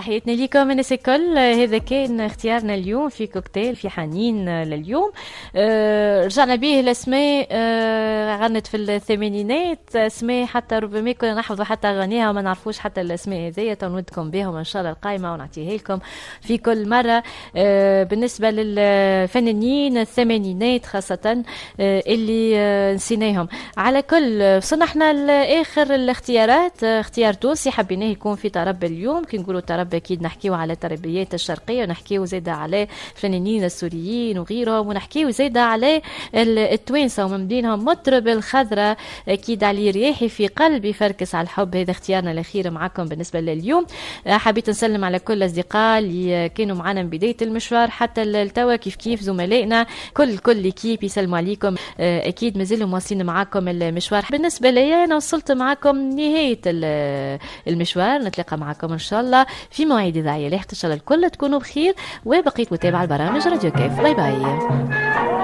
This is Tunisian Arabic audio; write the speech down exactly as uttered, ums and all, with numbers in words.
تحياتنا لكم الناس الكل. هذا كان اختيارنا اليوم في كوكتيل في حنين لليوم. آه، رجعنا به الاسماء، آه، غنت في الثمانينات، اسماء حتى ربما كنا نحفظوا حتى اغانيها وما نعرفوش حتى الاسماء هذيا. نودكم بهم ان شاء الله القائمة ونعطيها لكم في كل مره. آه، بالنسبة للفنانين الثمانينات خاصة اللي نسيناهم. على كل، وصلنا احنا لاخر الاختيارات، اختيار تونسي حبيناه يكون في طرب اليوم. كي نقولوا طرب اكيد نحكيو على التربيات الشرقيه، ونحكيو زاده على الفنانين السوريين وغيرهم، ونحكيو زاده على التوانسة ومن بينهم مطرب الخضراء اكيد علي رياحي في قلبي فركس على الحب. هذا اختيارنا الاخير معكم بالنسبة لليوم. حبيت نسلم على كل الاصدقاء اللي كانوا معنا من بداية المشوار حتى التوا، كيف كيف زملائنا كل كل l'équipe يسلموا عليكم. اكيد مازالوا مواصلين معاكم المشوار. بالنسبة لي انا وصلت معكم نهاية المشوار، نتلاقى معكم ان شاء الله في مواعيد اذاعية لاحقة. ان شاء الله الكل تكونوا بخير وبقيت متابعه البرامج راديو كيف. باي باي.